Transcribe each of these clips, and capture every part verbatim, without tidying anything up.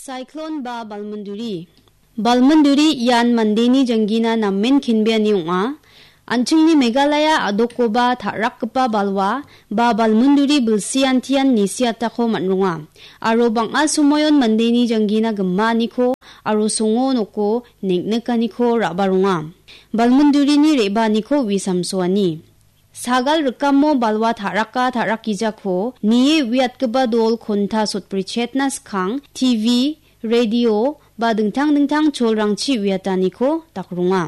Cyclone ba balmunduri. Balmunduri ian mandeni janggina namen kenbeani ong·a. An·chingni Meghalaya a·dokkoba ta·rakgipa balwa ba balmunduri bilsiantian nisiatako man·ronga. Aro bang·a somoion mandeni janggina gimaaniko aro songo noko neng·nikaniko ra·baronga. Balmundurini re·baaniko wi samsoani. Sagal rikamo balwa ta·raka ta·rakgijako nie uiatgipa dol konta sotbrichetna skang T V, radio ba dingtang dingtang cholrangchi uiataniko dakronga.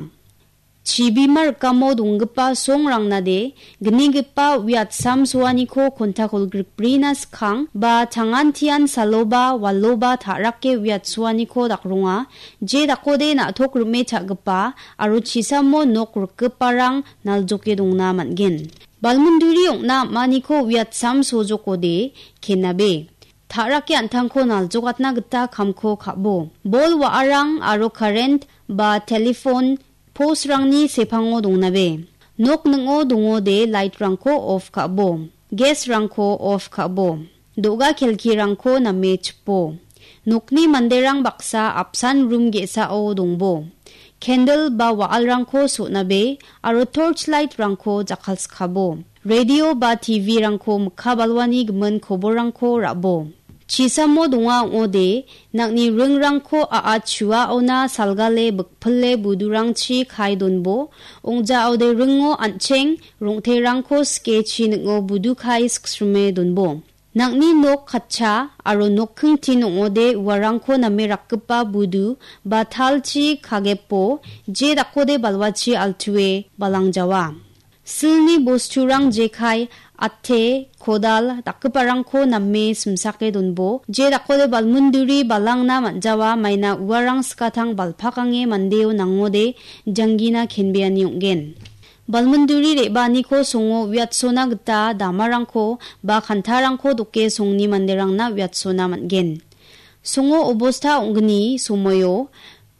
Chibima rikamo donggipa songrangnade gnigipa uiatsamsoaniko konta kolgrikbrina skang ba changantian saloba waloba ta·rake uiatsoaniko dakronga. Je dakode na·tok rime cha·gipa aro chisamo nok rikgiparang naljoke dongna man·gen. Balmunduri ong·na am·aniko uiatsam sojokode kenabe. Ta·rake an·tangko naljokatna gita kamko ka·bo. Bol wa·arang aro current ba telephone postrangni sepango dongnabe. Nok ning·o dongode lightrangko off ka·bo. Gasrangko off ka·bo. Do·ga kelkirangko name chipo. Nokni manderang baksa apsan rum ge·sao dongbo. Candle ba wa·alrangko so·nabe aro torch lightrangko jakkalskabo. Radio ba T V-rangko mikka balwani gimin koborrangko ra·bo. Chisamo donga ong·ode, nang·ni ringrangko a·a chuaona salgale bikpile budurangchi kae donbo. Ong·jaode ringo an·cheng rong·terangko skechi ning·o budu kae siksrime donbo. Nang·ni nok katcha aro nokkingtin ong·ode uarangko name rakgipa budu ba talchi kagepo, je dakode balwachi altue balangjawa. Silni bosturang jekai, ate, kodal dakgiparangko name simsake donbo, je dakode balmunduri balangna man·jawa, maina uarang skatang balpakange mandeo nangode janggina kenbeani ong·gen. Balmunduri re·baaniko songo uiatsona gita damarangko ba kantarangko doke songni manderangna uiatsona man·gen. Songo obosta ong·gni somoio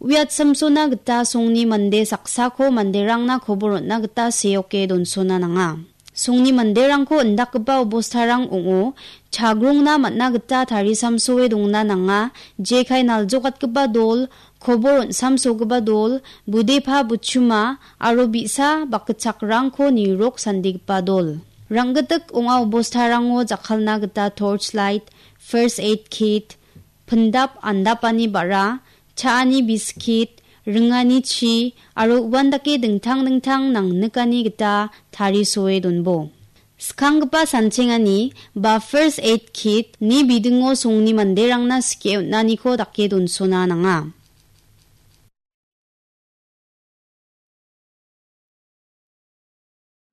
uiatsamsona gita songni mande saksako manderangna kobor on·na gita seoke donsona nanga. Songni manderangko indakgipa obostarang ong·o, chagrongna man·na gita tarisamsoe dongna nanga, jekai naljokatgipa dol, kobor on·samsogipa dol, budepa buchuma, aro bi·sa bakgitchakrangko nirok sandigipa dol. Ranggitik ong·a obostarango jakkalna gita torch light, first aid kit, pindap andapani ba·ra, cha·ani biskit, ringani chi, aro uandake dingtang dingtang nangnikani gita tarisoe donbo. Skanggipa sanchengani ba first aid kit ni bidingo songni manderangna skie on·aniko dake donsona nanga.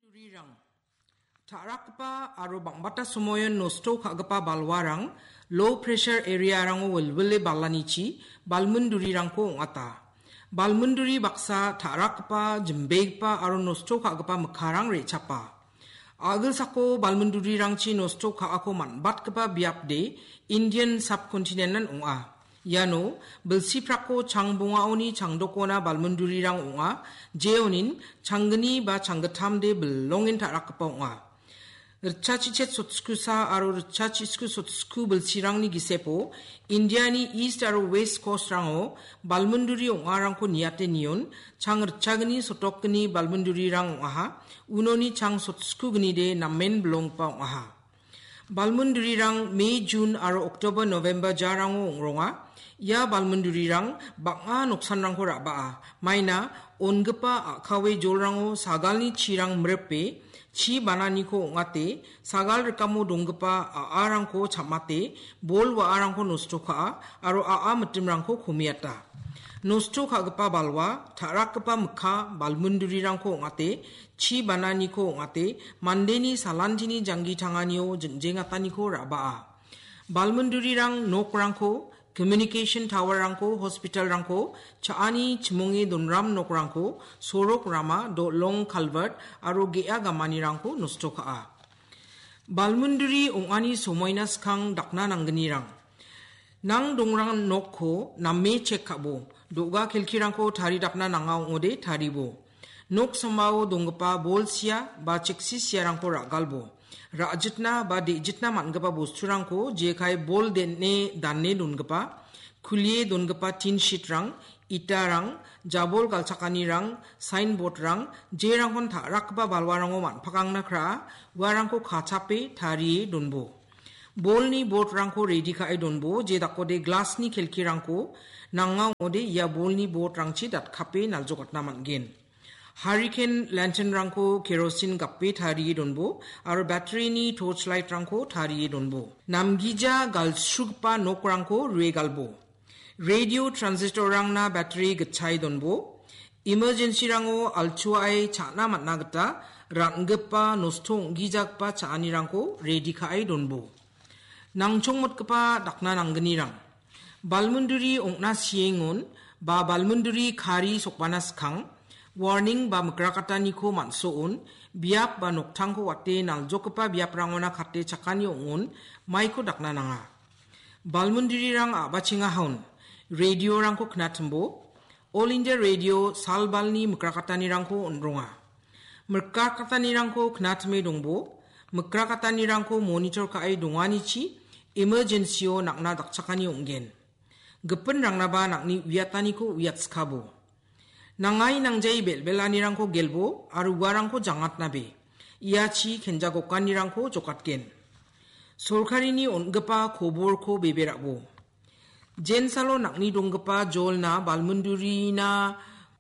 Durirang. Ta·rakgipa aro bang·bata somoion nosto ka·gipa balwarang low pressure area-rango wilwile balanichi balmundurirangko ong·ata. Balmunduri baksa ta·rakgipa, jimbegipa aro nosto ka·gipa mikkarang re·chapa. A·gilsako balmundurirangchi nosto ka·ako man·batgipa biapde Indian subcontinent-an ong·a. Iano bilsiprakko changbongaoni changdokona balmundurirang ong·a, jeonin changgni ba changgittamde bilongen ta·rakgipa ong·a. Ritchachichet sotskusa aro ritchachitsku sotsku bilsirangni gisepo Indiani East aro West Coast-rango balmunduri ong·arangko niate nion chang ritchagni sotokgni balmundurirang ong·aha, unoni chang sotskugnide namen bilonggipa ong·aha. Balmundurirang May, June aro October, November jarango ong·ronga. Ia balmundurirang bang·a noksanrangko ra·baa. Maina ongipa a·kawe jolrango sagalni chirang mripe, chi bananiko ong·ate, sagal rikamo donggipa a·arangko cham·ate, bol wa·arangko nosto ka·a aro a·a mitimrangko komiata. Nosto ka·gipa balwa, ta·rakgipa mikka, balmundurirangko ong·ate, chi bananiko ong·ate, mandeni salantini janggi tanganio jingjengataniko ra·baa. Balmundurirang nokrangko, communication tower-rangko, hospital-rangko, cha·ani chimonge donram nokrangko, sorok rama, dolong culvert aro ge·a gamanirangko nosto ka·a. Balmunduri ong·ani somoina skang dakna nanggnirang. Nang dongrang nokko name chek ka·bo. Do·ga kelkirangko taridakna nanga ong·ode taribo. Nok sambao donggipa bol sia ba cheksi siarangko ra·galbo. Ra·jitna ba de·jitna man·gipa bosturangko jekai bol den·e dane dongipa, Kulie dongipa tin sheetrang, itarang, jabol galchakanirang, signboardrang, jerangkon ta·rakgipa balwarango man·pakangna kra·a, uarangko kachape tarie donbo. Bolni boardrangko redi ka·e donbo, je dakode glassni kelkirangko nanga ong·ode ia bolni boardrangchi datkape naljokatna man·gen. Hurricane lanternrangko kerosin gape tarie donbo, aro batteryni torchlightrangko tarie donbo. Namgija galsugipa nokrangko rue galbo. Radio transistorrangna battery gitchae donbo. Emergencyrango altuae cha·na man·a gita ra·ngipa nosto ong·gijagipa cha·anirangko redi ka·e donbo. Nangchongmotgipa dakna nanggnirang. Balmunduri ong·na siengon ba balmunduri kari sokbana skang, warning ba mikrakataniko man·soon, biap ba noktangko wate naljokgipa biaprangona kate chakani ong·on, maiko dakna nanga. Balmundurirang a·bachengahaon, radiorangko knatimbo, All India Radio salbalni mikrakatanirangko on·ronga. Mikrakatanirangko knatime dongbo, mikrakatanirangko monitor ka·e donganichi emergencyo nang·na dakchakani ong·gen. Gipinrangnaba nang·ni uiataniko uiatskabo. Nangai nangjai bel·belanirangko gelbo aro uarangko jangatnabe. Iachi kenjagokanirangko jokatgen. Sorkarini on·gipa koborko bebe ra·bo. Jensalo nang·ni donggipa jolna balmundurina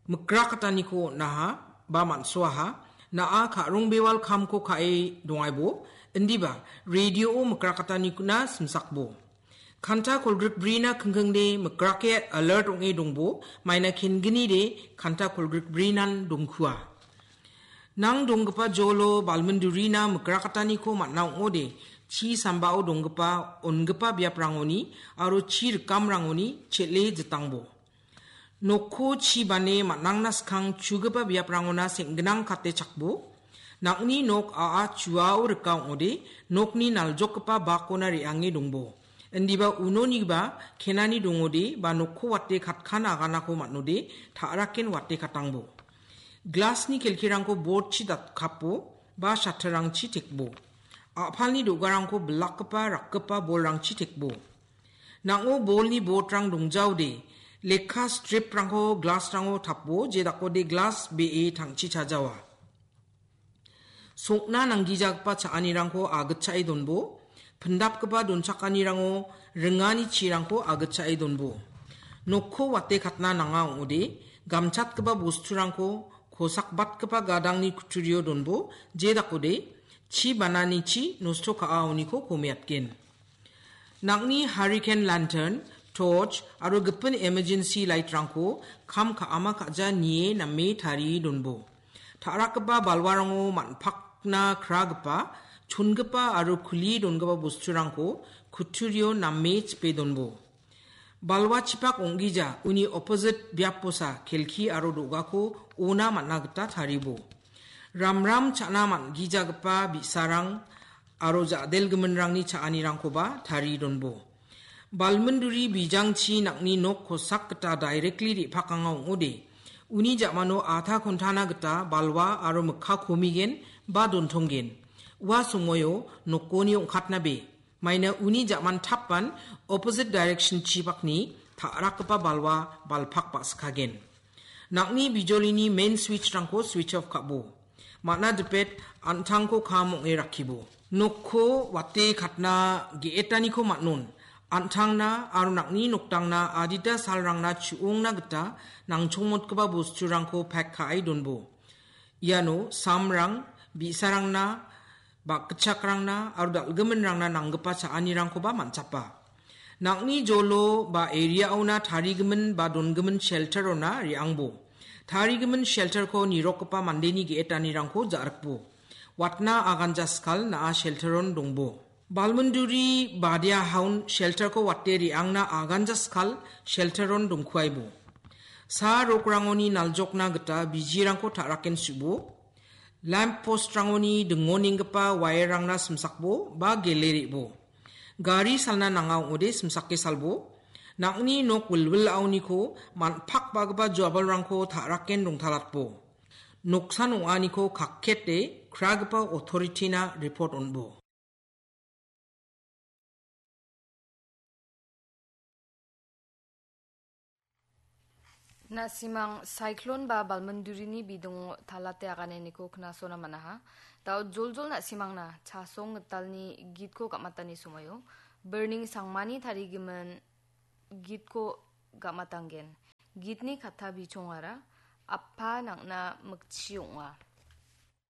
mikrakataniko on·aha ba man·soaha. Na·a ka·rong bewal kamko ka·e dongaibo. Indiba, radio-o mikrakataniko na simsakbo. Kanta kolgrikbrina kingkingde mikrake alert ong·e dongbo, maina kengnide kanta kolgrikbrinan dongkua. Nang donggipa jolo balmindurina mikrakataniko man·a ong·ode, chi sambao donggipa on·gipa biaprangoni aro chi rikamrangoni chel·e jitangbo. Nokko chi bane man·angna skang chugipa biaprangona seng·ginang kate chakbo. Nang·ni nok a·a chuao rika ong·ode, nokni naljokgipa bakona re·ange dongbo. Indiba unonigiba kenani dongode ba nokko wate katkan aganako man·ode, ta·raken wate katangbo. Glasni kelkirangko bordchi datkapo ba shatterrangchi tekbo. A·palni do·garangko bilakgipa rakgipa bolrangchi tekbo. Nang·o bolni botrang dongjaode, lekka striprangko glasrango tapo, jedakode glas be·e tangchi chajawa. Sokna nanggijagipa cha·anirangko agitchae donbo, pindapgipa donchakanirango ringani chirangko agitchae donbo. Nokko wate katna nanga ong·ode, gamchatgipa bosturangko kosakbatgipa gadangni kutturio donbo, jedakode chi bananichi nosto ka·aoniko komeatgen. Nang·ni hurricane lantern, torch aro gipin emergency light-rangko kam ka·ama ka·ja nie name tarie donbo. Ta·rakgipa balwarango man·pakna kragipa, chongipa aro kulie dongipa bosturangko kutturio name chipe donbo. Balwa chipak ong·gija uni opposite biaposa kelki aro do·gako ona man·a gita taribo. Ramram cha·na man·gijagipa bi·sarang aro ja·delgiminrangni cha·anirangkoba tarie donbo. Balminduri bijangchi nang·ni nok kosak gita directly re·pakanga ong·ode, uni ja·mano adha kontana gita balwa aro mikka komigen ba dontonggen. Ua somoio nokoni ong·katnabe. Maina uni ja·man tapan opposite direction chibakni ta·rakgipa balwa balpak ba·sikagen. Nang·ni bijolini main switch-rangko switch off ka·bo. Man·a dipet an·tangko kam ong·e rakkibo. Nokko wate katna ge·etaniko man·on. An·tangna aro nang·ni noktangna adita salrangna chu·ongna gita nangchongmotgipa bosturangko pack ka·e donbo. Iano samrang, bi·sarangna, bakgitchakrangna aro dal·giminrangna nanggipa cha·anirangkoba man·chapa. Nang·ni jolo ba area-ona tarigimin ba dongimin shelter-ona re·angbo. Tarigimin shelter-ko nirokgipa mandeni ge·etanirangko ja·rikbo. Watna aganja skal na·a shelter-on dongbo. Balminduri badia haun shelter-ko wate re·angna aganja skal shelter-on dongkuaibo. Sa rokrangoni naljokna gita bijirangko ta·raken su·bo. Lamp post-rangoni dingonenggipa wire-rangna simsakbo ba gele re·bo. Gari salna nanga ong·ode simsake salbo. Nang·ni nok wilwilaoniko man·pakbagipa joabalrangko ta·raken dongtalatbo. Noksan ong·aniko kakkete kragipa authority-na report on·bo. Na·simang cyclone ba balmindurini bidingo talate aganeniko knasona manaha. Dao joljol na·simangna chasong gitalni gitko gamatani somoio, birning sangmani tarigimin gitko gamatanggen. Gitni katta bichongara appa nangna mikchi ong·a.